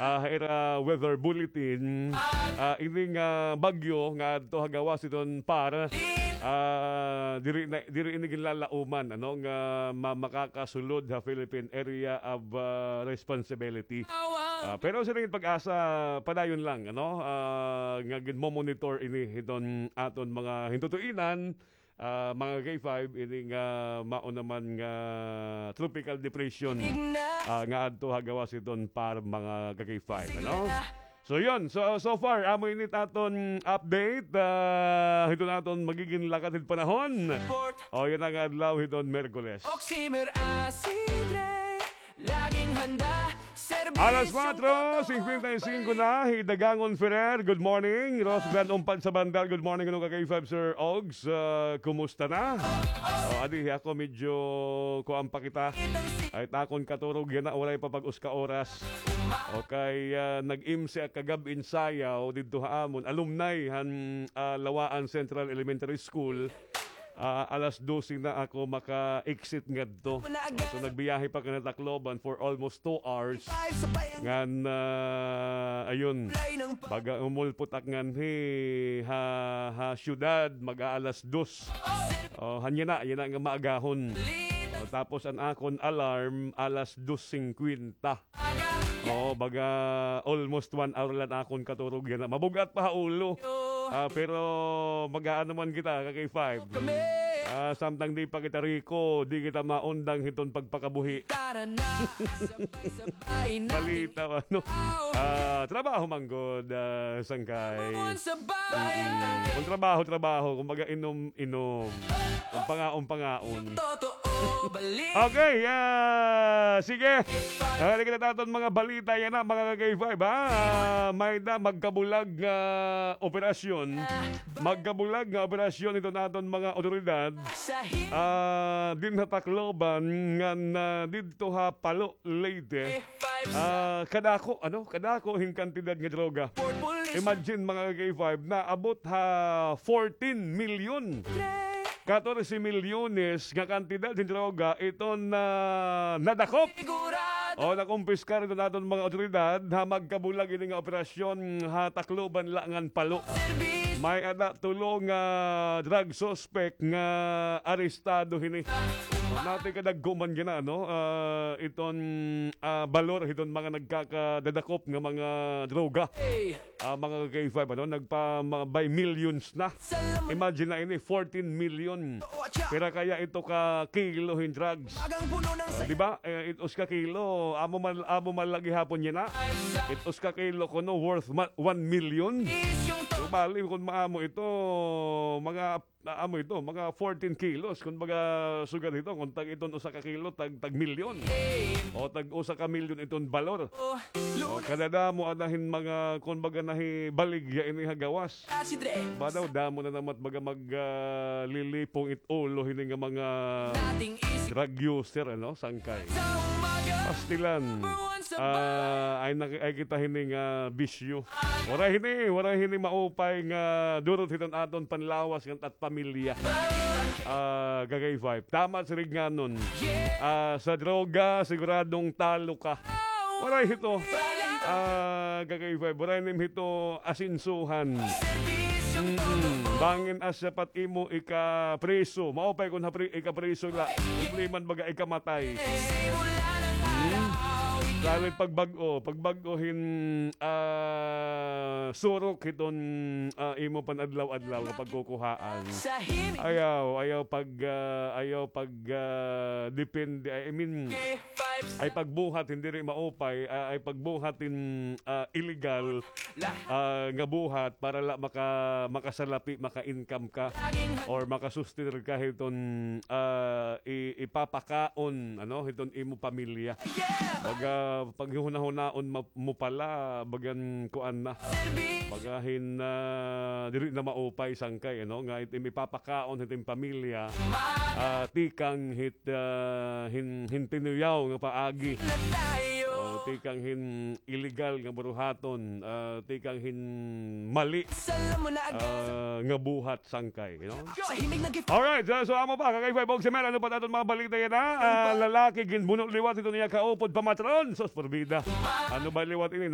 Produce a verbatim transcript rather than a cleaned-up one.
ah, ha ira weather bulletin, ah, ini nga bagyo nga adto ha gawas hiton PAR, ah, diri na, diri ini ginlalauman, ano, nga ma-, makakasulod ha Philippine Area of, ah, Responsibility. Ah, pero siring it PAGASA, padayon lang, ano, ah, nga ginmo-monitor ini hiton aton mga hintutuinan, ah, mga ka-K five, ini nga mao naman nga tropical depression, ah, nga adto ha gawas hiton PAR, mga ka-K five, ano? So, yun. So, so far, amo ini it aton update, ah, hiton aton magigin lakad hit panahon. O, yana nga adlaw hiton Miyerkules. Oximer Acidre, laging handa. Alas kwatro singkwenta y singko na, hi Dagangon Ferrer, good morning. Rose Gran Umpad sa Bandar, good morning, ano ka-K five, Sir Ogs, ah, kumusta na? O, adi, ako medyo kuan pa kita. Ay, it akon katurog yana, waray pa pag-usa ka oras. Okay, ah, nag-M C ak kagab-i in sayaw didto ha amon, alumni han, ah, Lawaan Central Elementary School. Ah, alas dose na ako maka-exit ngadto. So, nagbiyahe pa ako ngan Tacloban for almost two hours. Ngan, ah, ayun, baga umulpot ak nganhi ha, ha syudad, mag-aalas dos. O, han yana, yana nga maagahon. O, tapos an akon alarm, alas dos singkwenta. Oo, baga almost one hour la an akon katurog yana. Mabug-at pa ha ulo. Ah, pero mag-aano man kita, ka-K five. Ah, samtang di pa kita riko, di kita maundang hiton pagpakabuhi. Balita, ano? Ah, trabaho man gud, ah, sangkay. Kon trabaho, trabaho. Kumbaga, inom, inom. Kon pangaon, pangaon. Okay, ah, sige. Nangani kita ha aton mga balita yana, mga ka-K five, ha? Ah, may-ada magkabulag nga operasyon. Magkabulag nga operasyon hiton aton mga awtoridad. Ah, dinhi ha Tacloban ngan, ah, didto ha Palo, Leyte. Ah, kadako, ano? Kadako hin kantidad nga droga. Imagine, mga ka-K five, naabot ha fourteen milyon. Katorse milyones nga kantidad hin droga iton, ah, nadakop o nakumpiskar hiton aton mga awtoridad ha magkabulag ini nga operasyon ha Tacloban la ngan Palo. May-ada tulo nga drug suspect nga arestado hini. Nati kadagko man gina, no? Ah, iton, ah, balor hiton mga nagkakadadakop nga mga droga. Ah, mga ka-K five, ano, nagpa-, mga by millions na. Imagine na ini, fourteen million. Pira kaya ito ka kilo hin drugs? Ah, di ba? Eh, it usa ka kilo, amo man, amo man la gihapon yana. It usa ka kilo kuno worth ma-, one million. So, bali, kon maamo ito, mga, amo ito, mga fourteen kilos. Kon baga, sugad ito, kon tag iton usa ka kilo, tag, tag milyon. O tag usa ka milyon iton balor. O, kadadamo ana hin mga, kon baga, nahibaligya ini ha gawas. Ba daw, damo na naman baga mag, ah, lilipong it ulo hini nga mga drug user, ano, sangkay. Pastilan. Ah, ay, naki-, ay kita hini nga bisyo. Waray hini, waray hini maupay nga durot hiton aton panlawas ngan at pamilya. Ah, ka-K five. Tama si Rignanon. Ah, sa droga, siguradong talo ka. Waray hito. Ah, ka-K five, waray nim hito asensuhan. Mm-mm. Bangin asya pa it imo ikapriso. Maupay kon hapri-, ikapriso la. Problema na baga ikamatay. Hmm? Lalo it pagbag-o. Pagbag-o hin, ah, surok hiton, ah, imo pan-adlaw-adlaw nga pagkukuhaan. Ayaw, ayaw pag, ah, ayaw pag, ah, depende, I mean, ay pagbuhat hin diri maupay, ah, ay pagbuhat hin, ah, illegal, ah, nga buhat para la maka-, makasalapi, maka-income ka, or makasuster ka hiton, ah, i-, ipapakaon, ano, hiton imo pamilya. Baga, paghuhunahunaon ma-, mo pala, bagan kuan na. Baga hin, ah, diri na maupay sangkay, ano, nga it imo ipapakaon hit im pamilya, ah, tikang hit, ah, hin, hin tinuyaw nga paagi. O, tikang hin illegal nga buruhaton, ah, tikang hin mali, ah, nga buhat sangkay, you know? Alright, so, so amo pa, ka-K five Oximer, ano pa it aton mga balita yana? Ah, lalaki ginbuno liwat hiton iya kaupod pamatron. Sus, porbida. Ano ba liwat ini?